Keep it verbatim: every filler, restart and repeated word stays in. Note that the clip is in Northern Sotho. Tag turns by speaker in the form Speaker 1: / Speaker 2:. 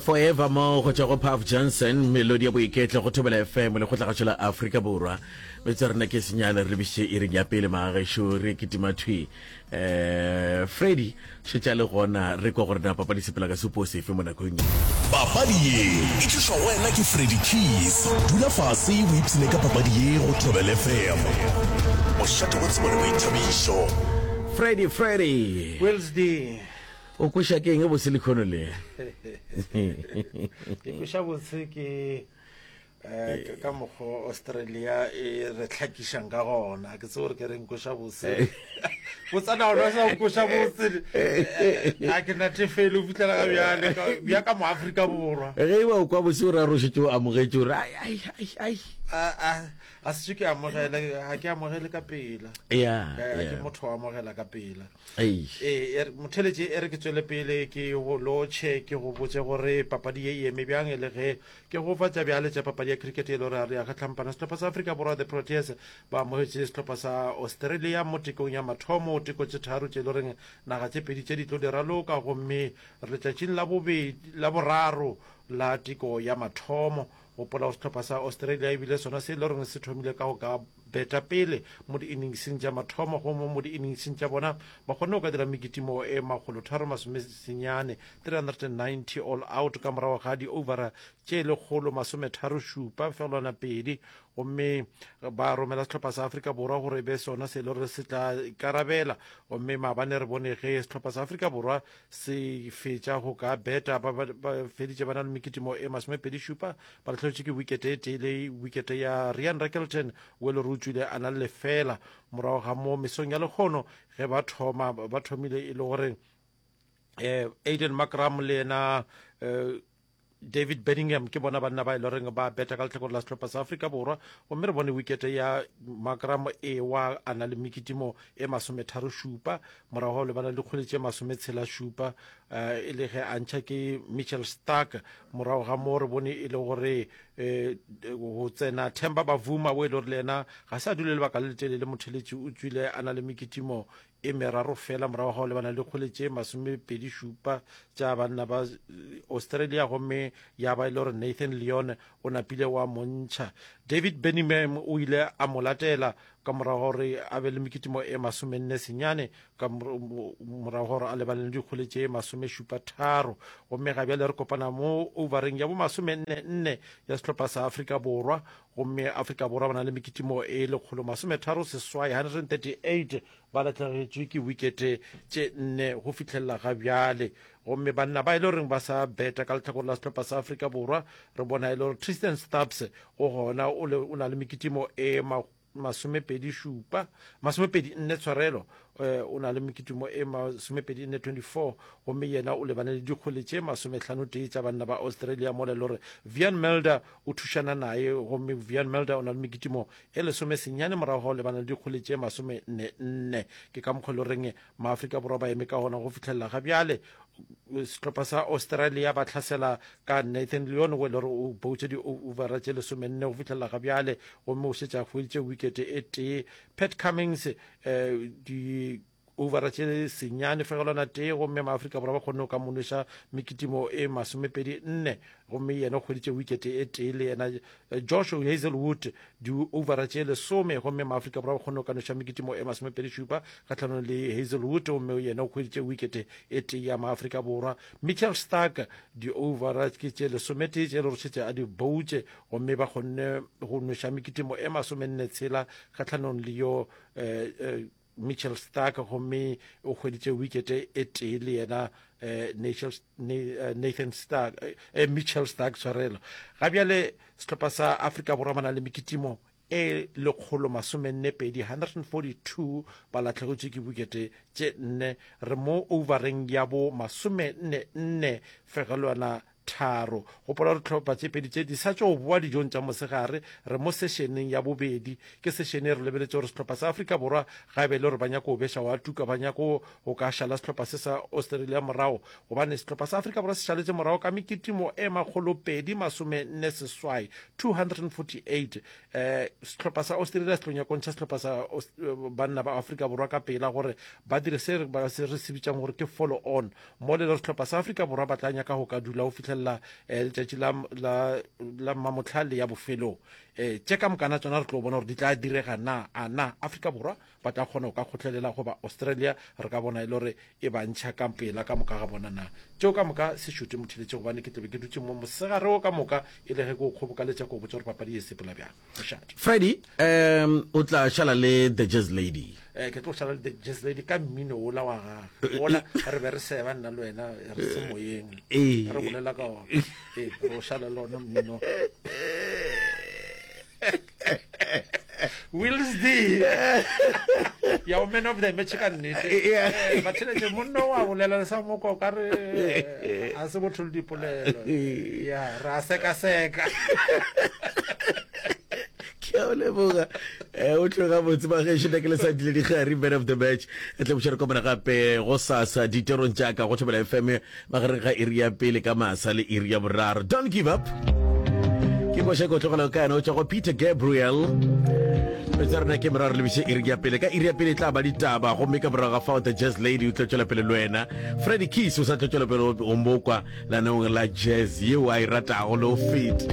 Speaker 1: Forever mo go tšwa go Puff Johnson, melodi ya boiketlo go Thobela F M, lekgotlagašo la Afrika Borwa. Metsotso ya rena ke senyane, re lebišitše iring ya pele magagešo, re kitima thwi. um Freddy šetše a le gona, re kwa gore na papadi sepela ka sepo sefe mo nakong ye.
Speaker 2: Papadi ye e tlišwa go wena ke Freddy Keys. Dula fase o ipshine ka papadi ye go Thobela F M, mošate wa tsebo le boithabišo.
Speaker 1: Freddy, Freddy.
Speaker 3: Wills D.
Speaker 1: O kweša ke eng bose lekhono le?
Speaker 3: Ke kweša botse ke eh, ka mokgwa Australia e re tlhakišang ka gona. Ke tsebe gore ke reng kweša botse. Botsana gona sa kweša botse. A ke natefele o fihlela ga bjale bja ka mo Afrika Borwa.
Speaker 1: Ge e ba o kwa bose o ra rošetše o amogetše o re ai ai ai ai.
Speaker 3: A a a se ke amogele, ga ke amogele ka pela.
Speaker 1: Yeah,
Speaker 3: Ke motho wa amogela ka pela. Ee, motheletše, e re ke tswele pele ke go lotšhe, ke go botše gore papadi ye e eme bjang. E le ge ke go fa tša bjale tša papadi ya cricket e le gore re ya kgahlampana, sehlopha sa Afrika Borwa, the Proteas, ba amogetše sehlopha sa Australia mo tekong ya mathomo, teko tše tharo tše e le goreng naga tše pedi tše di tlo di raloka, gomme re letšatšing la bobedi la boraro la teko ya mathomo. Gopola gore sehlopha sa Australia e bile sona se e le goreng se thomile ka go ka beta pele mo di-inningseng tša mathomo, gomme mo di-inningseng tša bona ba kgonne go ka dira mekitimo e makgolotharo masomesenyane, three hundred and ninety all out, ka morago ga di-overa tše lekgolo masometharo šupa fegelwana pedi, gomme ba romela sehlopha sa Afrika Borwa gore e be sona se e le gore se tla ikarabela. Gomme maabane re bone ge sehlopha sa Afrika Borwa se fetša go ka beta, ba feditše ba na le mekitimo e masomepedi šupa, ba latlhegetše ke wikete e tee, le wikete ya Ryan Rickelton o e le gore o tswile a na le lefela. Morago ga mo mesong ya lekgono ge ba thoma, ba thomile e le gore eh Aiden Markram le yena eh, David Bedingham ke bona banna ba e le goreng ba beta ka letlhakore la sehlopha sa Afrika Borwa, gomme re bone wikete ya Markram e wa a na le mekitimo e masometharo šupa, morago ga lebana le dikgwele tše masometshela šupa, e le ge a ntšha ke Mitchell Starc. Morago ga mo re bone e le gore go tsena Themba Bavuma o e le gore le yena ga se a dule lebaka le letelele, motheletši o tswile a na le mekitimo e meraro fela, morago ga go lebana le dikgwele tše masomepedi šupa tša banna ba Australia, gomme ya ba e le gore Nathan Lyon o napile wa montšha. David Bedingham o ile a mo latela ka morago gore a be le mekitimo e masomenne senyane, ka morago gore a lebane le dikgwele tše masomešupa tharo. Gomme ga bjale re kopana mo overeng ya bo masomenne nne ya sehlopha sa Afrika Borwa, gomme Afrika Borwa ba na le mekitimo e lekgolo masometharo seswai, one hundred thirty-eight, ba lahlegetšwe ke wikete tše nne go fihlelela ga bjale. Gomme banna ba e le goreng ba sa beta ka letlhakore la sehlopha sa Afrika Borwa, re bona e le gore Tristan Stubbs o gona, o na le mekitimo e masomepedi šupa, masomepedi nne, tshwarelo, o na le mekitimo e masomepedi nne, twenty-four, gomme yena o lebane le dikgwele tše masomehlano tee tša banna ba Australia, mola e le gore Wiaan Mulder o thušana naye, gomme Wiaan Mulder o na le mekitimo e lesome senyane, morago ga o lebana le dikgwele tše masome nne nne. Ke ka mokgwa le goreng maAfrika Borwa ba eme ka gona go fitlhelela ga bjale. Sehlopha sa Australia ba tlhasela ka Nathan Lyon o e le gore o boutše di-overa tše lesomenne go fitlhelela ga bjale, gomme o šetše a hweditše wikete e tee. Pat Cummings um di overa tše senyane fegelwana tee, gomme maAfrika Borwa ba kgonne go ka monoša mekitimo e masomepedi nne, gomme yena o hweditše wikete e tee. Le yena Josh Hazelwood di-overa tše lesome, gomme maAfrika Borwa ba kgonne go ka noša mekitimo e masomepedi šupa kgatlhanong le Hazelwood, gomme yena o hweditše wikete e tee ya maAfrika Borwa. Mitchell Starc di-overa ke tše lesometee tše le gore šetše a di boutše, gomme ba kgonne go noša mekitimo e masomenne tshela kgatlhanong le yo eh, eh, Mitchell Starc, gomme o hweditše wikete e tee le yena eh, Nathan Stark, eh, Mitchell Starc, tshwarelo. Ga bjale sehlopha sa Afrika Borwa ba na le mekitimo e lekgolo masomenne pedi, one hundred forty-two, ba latlhegetšwe ke wikete tše nne. Re mo overeng ya bo masomenne nne fegelwana tharo. Gopola gore tlhopha tše pedi tše di sa tšo boa dijong tša mosegare, re mo sessioneng ya bobedi. Ke session e re lebeletse gore sehlopha sa Afrika Borwa ga e be le gore ba nyako go beša wa tuka, ba nyako go ka šala sehlopha se sa Australia morago, gobane sehlopha sa Afrika Borwa se šaletše morago ka mekitimo e makgolo pedi masome nne seswai, two hundred forty-eight. um sehlopha sa Australia se tlo nyako ntšha sehlopha sa banna ba Afrika Borwa ka pela gore ba dire se re se bitšang gore ke follow on, mo le le sehlopha sa Afrika Borwa ba tla nyaka go ka dula go fihlelela. fihlelela um letšatši la, la, la mmamotlhale ya bofelong. Um tše ka mokana tsona re tlo bona gore di tla direga na, a na Afrika Borwa ba tla kgona go ka kgotlelela goba Australia re ka bona e le gore e ba ntšha ka pela ka moka ga bona na. Tšeo ka moka se šute motheletše gobane ke tlabe ke dutše mo mosegare wo ka moka e le ge ke o kgobokaletša ke o botša gore papadi e sepela bjang. Mošate.
Speaker 1: Freddy, um o tla šala le The Jazz Lady.
Speaker 3: Eh, ke tlo šala le The Jazz Lady ka mmino wola wa gage wola re be re seba nna le wena re se moyeng
Speaker 1: Ee.
Speaker 3: re bolela ka ona ee re o šala le ona mmino Wills D ya o man of the match ka nnete
Speaker 1: Yeah.
Speaker 3: Eh, batheletše monna wa bolela le sa moko o ka re eh, a se botho le dipolelo ya re a sekaseka
Speaker 1: Ke a o leboga. Eh, o tloga botse ba gešo nna ke le sa dile dikgari man of the match. Re tla buša re kopana gape go sasa ditorong tša ka go Thobela F M magareng ga iri ya pele ka masa le iri ya boraro. Don't give up. Ke koša ko tlogela ka yena o tšwa go Peter Gabriel. Tsa rena ke meraro lebiše iri ya pele ka iri ya pele e tla ba ditaba gomme ka morago ga fao The Jazz Lady o tlo tšwela pele le wena. Freddy Keys o sa tlo tšwela pele o mokwa lenaneong la jazz yeo a e ratago le go feta.